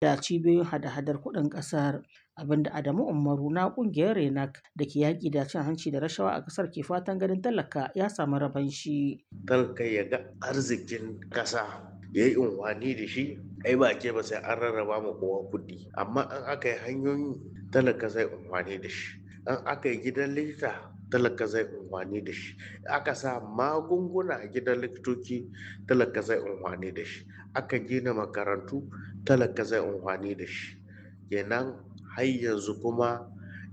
Da cibiyoyin hada-hadar kuɗin ƙasar, abinda Adamu Umaru na ƙungiyar RENAC da ke yaƙi da cin hanci da rashawa a ƙasar ke fatan ganin talaka ya samu rabon shi. Talaka ya ga arzikin ƙasa ya yi unhwani da shi, ai ba ke ba sai an rarraba ma kowa kuɗi. Amma in aka yi hanyoyi talaka zai unhwani da shi. In aka yi gidan likita talaka zai unhwani da shi. Aka sa magunguna a gidan likitoci talaka zai unhwani da shi. Aka gina makarantu talaka zai unhwani da shi. Kenan har yanzu kuma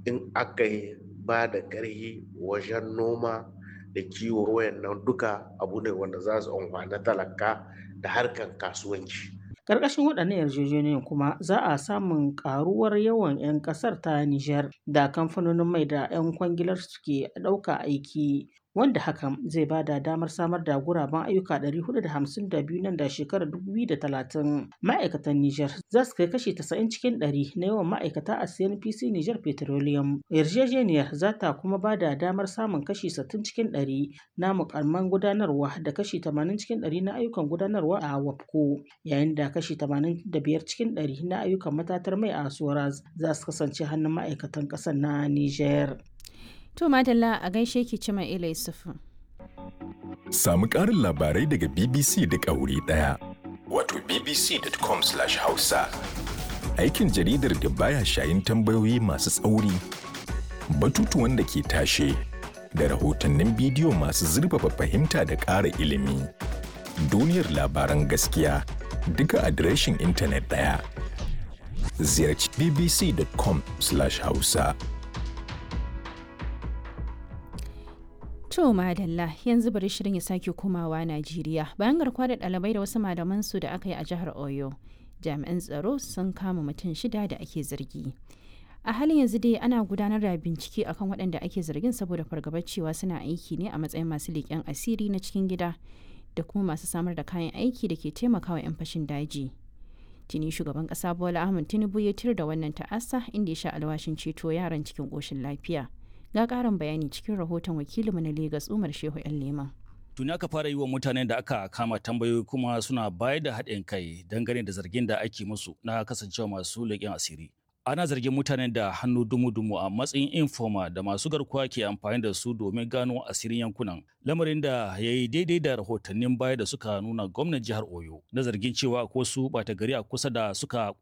in aka yi ba da ƙarhi wajen noma da kiwo wayannan duka abu ne wanda za su unhwani talaka da harkan kasuwanci. Ƙarƙashin waɗannan yarjejeniyoyin kuma za a samun ƙaruwar yawan 'yan ƙasar ta Nijar da kamfanonin mai da 'yan kwangilar suke ɗauka aiki, wanda hakan zai ba da damar samar da guraben ayyuka 452 nan da shekarar 2030. Ma'aikatan Nijar za su kai kashi 90 cikin 100 na yawan ma'aikata a CNPC Nijar Petroleum. Yarjejeniyar za ta kuma ba da damar samun kashi 60 cikin 100 na mukamman gudanarwa da kashi 80 cikin 100 na ayyukan gudanarwa a WAPCO, yayin da kashi 85 cikin 100 na ayyukan matatar mai a Soraz za su kasance hannun ma'aikatan ƙasar na Nijar. To Madalla a gaishe ki Cima Ila Yusufu. Samu ƙarin labarai daga BBC duk a wuri ɗaya. Wato bbc.com/hausa. Aikin jaridar da baya shayin tambayoyi masu tsauri, batutuwan da ke tashe, da rahotannin bidiyo masu zurfafa fahimta da ƙara ilimi. Duniyar labaran gaskiya duka adireshin intanet ɗaya. Ziyarci bbc.com/hausa. To madalla yanzu bari shirin ya sake komawa Najeriya bayan garkuwa da ɗalibai da wasu malaman su da aka yi a jihar Oyo. Jami'an tsaro sun kama mutum shida da ake zargi. A halin yanzu dai ana gudanar da bincike akan waɗanda ake zargin saboda fargabar cewa suna aiki ne a matsayin masu leƙen asiri na cikin gida da kuma masu samar da kayan aiki da ke taimakawa 'yan fashin daji. Tuni shugaban ƙasa Bola Ahmed Tinubu ya tir da wannan ta'asa inda ya sha alwashin ceto yaran cikin ƙoshin lafiya. Ga ƙarin bayani cikin rahoton wakilinmu na Legas Umar Shehu 'yan Leman. Tuni aka fara yi wa mutanen da aka kama tambayoyi kuma suna bayar da haɗin kai dangane da zargin da ake musu na kasancewa masu leƙen asiri. Ana zargin mutanen da hannu dumu-dumu a matsayin informa da masu garkuwa ke amfani da su domin gano asirin yankunan. Lamarin da ya yi daidai da rahotannin baya da suka nuna gwamnan jihar Oyo na zargin cewa ko su ɓata gari a kusa da suka